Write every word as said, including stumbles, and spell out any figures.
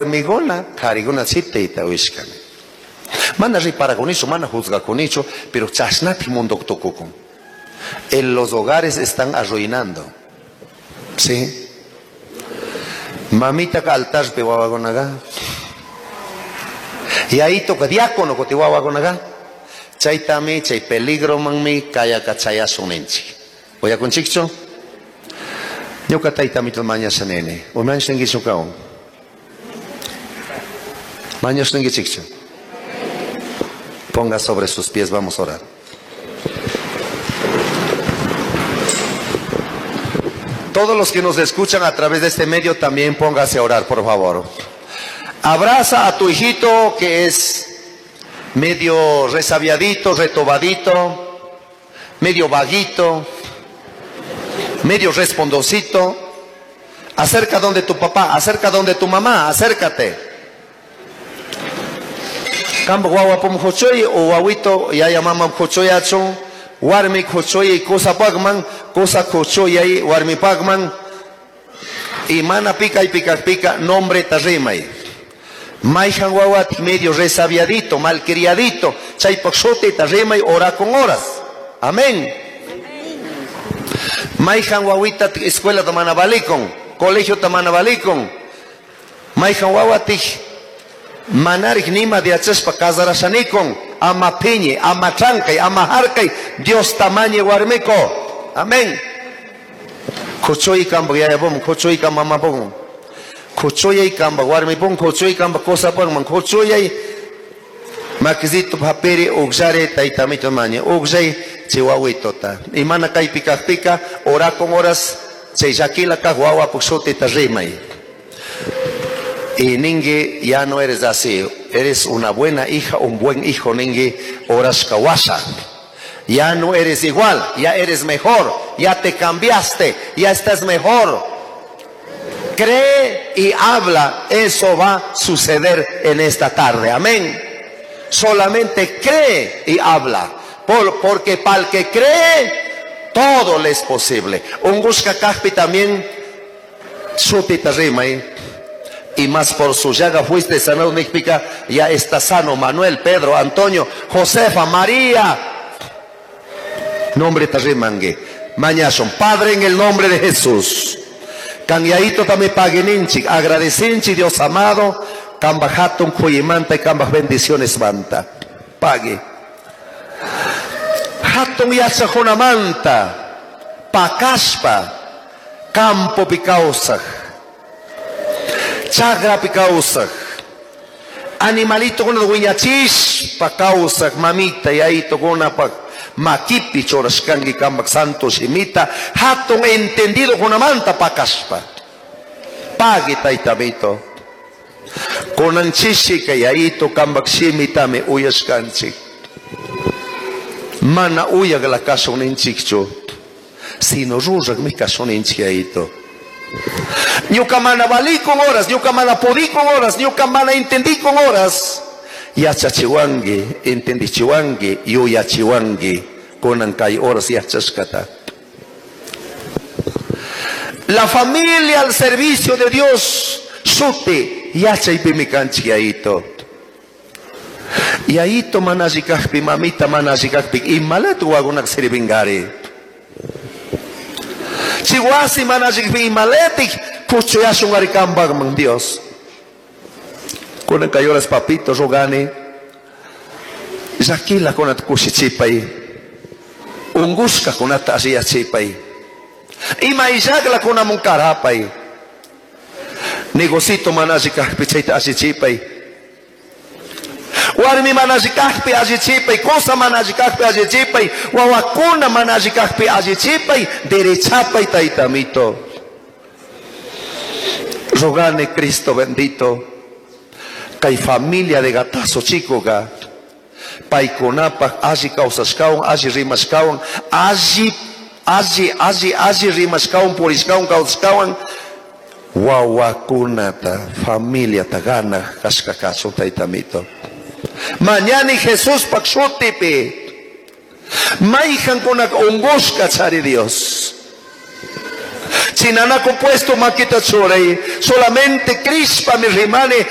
Warmiguna, kariguna chitayta uyashkani. Mana riparakunichu, mana juzgakunichu, pero chashnati mundo tukukun. En los hogares están arruinando. ¿Sí? Mamita ka altarpi wawakunaqa. Yayitoka diácono kuti wawakunaqa. Chaytami, chay peligromanmi kayaka chayasun ninchik. Uyakunchikchu? Ñuka taytamito mañasha nini. Umañashankichu kawan? Mañashankichikchu? Ponga sobre sus pies, vamos a orar. Todos los que nos escuchan a través de este medio también póngase a orar, por favor. Abraza a tu hijito que es medio resabiadito, retobadito, medio vaguito, medio respondosito. Acerca donde tu papá, acerca donde tu mamá, acércate. Kambo guagua pum jochoy o guaguito yaya mama jochoyachun, warmi jochoy cosa pagman, cosa jochoy warmi pagman. Y mana pica y pica pica, nombre tarrimay. Maijan guaguat medio resabiadito, malcriadito, chaypok tarrimay ora con horas. Amén. Maijan guaguita escuela tamana balikon, colegio tamana balikon. Maijan guaguatij manarik nima de achaspa casarashanikon, ama piñe, ama trancay, ama harkay, Dios tamañe warmiko. Amén. Kuchoy kamba yayabom, kuchoy kamba mamapom. Kuchoy kamba warmipom, kuchoy kamba kosapam, kuchoy makizito paperi ugjare taitamito mañe, ugjay chihuahuitota. Y mana kay pica pica, ora con horas, chayakila ka guagua puxote tarrimay. Y ningue, ya no eres así, eres una buena hija, un buen hijo, ningue, horas kawasha. Ya no eres igual, ya eres mejor, ya te cambiaste, ya estás mejor. Cree y habla, eso va a suceder en esta tarde, amén. Solamente cree y habla, por, porque para el que cree, todo le es posible. Un busca kajpi también, sutita rima, ¿eh? Y más por su llaga fuiste sanado, Nicpica, ya está sano Manuel, Pedro, Antonio, Josefa, María. Nombre tarrimangue. Mañason, Padre, en el nombre de Jesús. Canyaito también pagueninchi, agradecinchi, Dios amado, cambajaton cuyimanta y cambaj bendiciones manta. Pague. Hatun yachajunamanta, pacaspa, campo picausaj. Chagra picausaj, animalito con wiñachish pacausaj, mamita y ahí tocona pa makipi chorashkangi kambak santo shimita, hatun entendido con manta pacaspa. Pague taitamito. Konanchishi que yaito kambak shimita me uyashkanchi. Mana uyag la casa uninchikcho, sino rurag mi casa uninchiaito. Ñuka mana valí con horas, ñuka mana podí con horas, ñuka mana entendí con horas. Yachachiwangi, entendichiwangi, yuyachiwangi, konan kay horas yachashkata. La familia al servicio de Dios, sute, yachaypimikanchik yayito. Yayito manallikajpi, mamita manallikajpi, imalatu wagunak sirvingari. Chihuasi manallikpi imaletik, kuchuyashun arikambagman Dios. Kunan kay horas papito rogani, llakila kunata kushichipay, ungushka kunata alliyachipay, ima illakla kunamun karapay, negocito manallikajpi chayta allichipay, warmi manallikajpi allichipay, cosa manallikajpi allichipay, wawakuna manallikajpi allichipay, derechapay taytamito. Rogane Cristo bendito, kay familia de gatazo chico ga, paykunapaj alli kawsashkawan, alli rimashkawan, alli, alli, alli, alli rimashkawan, purishkawan, kawsashkawan, wawakunata, familiata ganaj kashka kachun taytamito. Mañani Jesús pak shutipi, mayjankunak ungushka chari Dios. Chinana compuesto maquita chorei, solamente crispa mi rimane.